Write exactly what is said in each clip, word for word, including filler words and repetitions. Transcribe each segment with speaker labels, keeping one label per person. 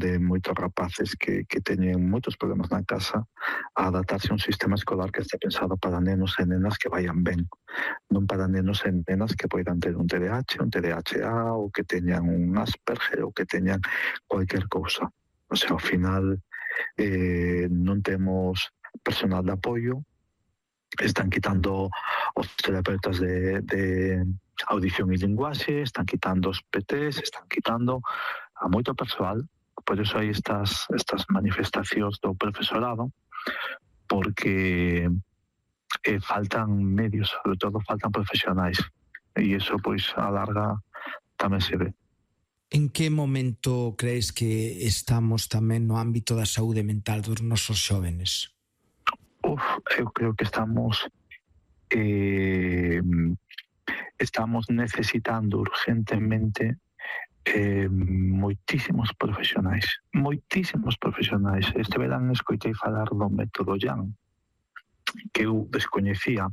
Speaker 1: de moitos rapaces que, que teñen moitos problemas na casa a adaptarse a un sistema escolar que está pensado para nenos e nenas que vayan ben, non para nenos e nenas que poidan ter un T D A H, un T D A H A ou que teñan un Asperger ou que teñan cualquier cousa. O sea, ao final eh, non temos personal de apoio, están quitando os terapeutas de, de audición e linguaxe, están quitando os P Ts, están quitando a moito persoal. Por iso hai estas, estas manifestacións do profesorado, porque eh, faltan medios, sobre todo faltan profesionais, e iso pois a larga tamén se ve.
Speaker 2: En que momento crees que estamos tamén no ámbito da saúde mental dos nosos xóvenes?
Speaker 1: Uf, eu creo que estamos eh, estamos necesitando urgentemente eh, moitísimos profesionais, moitísimos profesionais. Este verán escoitei falar do método Yang, que eu descoñecía,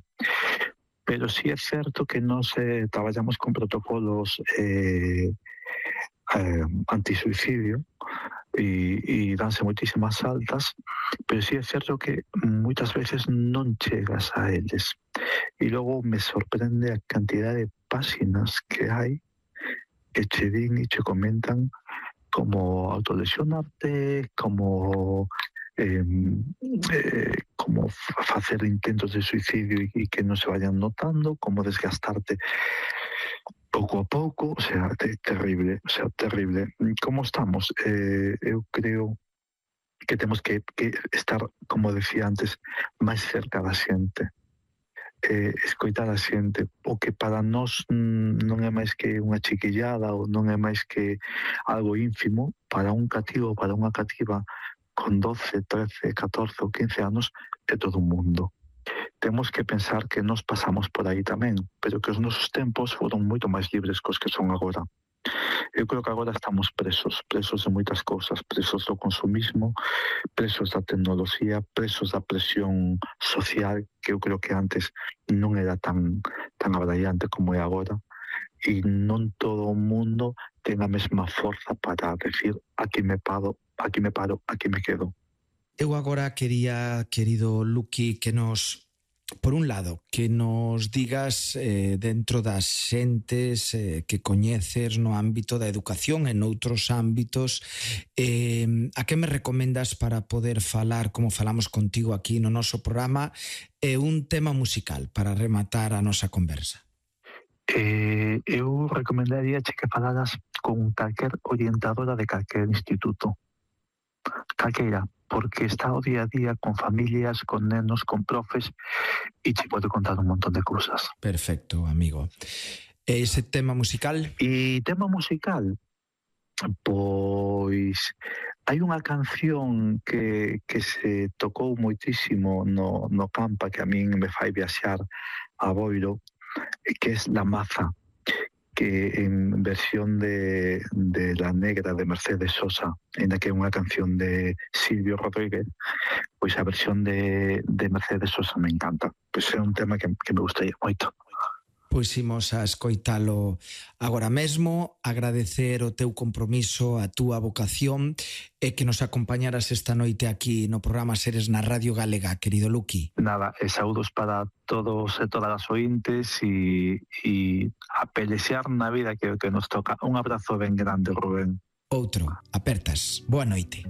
Speaker 1: pero sí é certo que nós eh, traballamos con protocolos eh, eh, antisuicidio e, e danse moitísimas altas, pero sí é certo que moitas veces non chegas a eles. E logo me sorprende a cantidad de páxinas que hai que che din e che comentan como autolesionarte, como eh, eh, como facer intentos de suicidio e, e que non se vayan notando, como desgastarte pouco a pouco, o sea, te, terrible, o sea, terrible. Como estamos? Eh, eu creo que temos que, que estar, como decía antes, máis cerca da xente. Eh, escoitar a xente, o que para nós mm, non é máis que unha chiquillada ou non é máis que algo ínfimo, para un cativo, para unha cativa con doce, trece, catorce ou quince anos é todo un mundo. Temos que pensar que nos pasamos por aí tamén, pero que os nosos tempos foron moito máis libres cos que son agora. Eu creo que agora estamos presos, presos de moitas cousas, presos do consumismo, presos da tecnoloxía, presos da presión social, que eu creo que antes non era tan, tan abraiante como é agora, e non todo o mundo ten a mesma forza para decir aquí me paro, aquí me paro, aquí me quedo.
Speaker 2: Eu agora quería, querido Luqui, que nos... Por un lado, que nos digas eh, dentro das xentes eh, que coñeces no ámbito da educación e noutros ámbitos, eh, a que me recomendas para poder falar, como falamos contigo aquí no noso programa, e eh, un tema musical para rematar a nosa conversa?
Speaker 1: Eh, eu recomendaría que falaras con calquer orientadora de calquer instituto, calqueira, porque está o día a día con familias, con nenos, con profes, e te pode contar un montón de cousas.
Speaker 2: Perfecto, amigo. E ese tema musical?
Speaker 1: E tema musical, pois hai unha canción que, que se tocou moitísimo no, no Campa, que a min me fai viaxar a Boiro, que é La Maza, que en versión de, de La Negra de Mercedes Sosa, en la que é unha canción de Silvio Rodríguez, pois a versión de, de Mercedes Sosa me encanta. Pois é un tema que, que me gustaría moito.
Speaker 2: Pois imos a escoitalo agora mesmo, agradecer o teu compromiso, a túa vocación e que nos acompañaras esta noite aquí no programa Seres na Radio Galega, querido Luqui.
Speaker 1: Nada, e saúdos para todos e todas as ointes e, e a pelexear na vida que, que nos toca. Un abrazo ben grande, Rubén.
Speaker 2: Outro, apertas. Boa noite.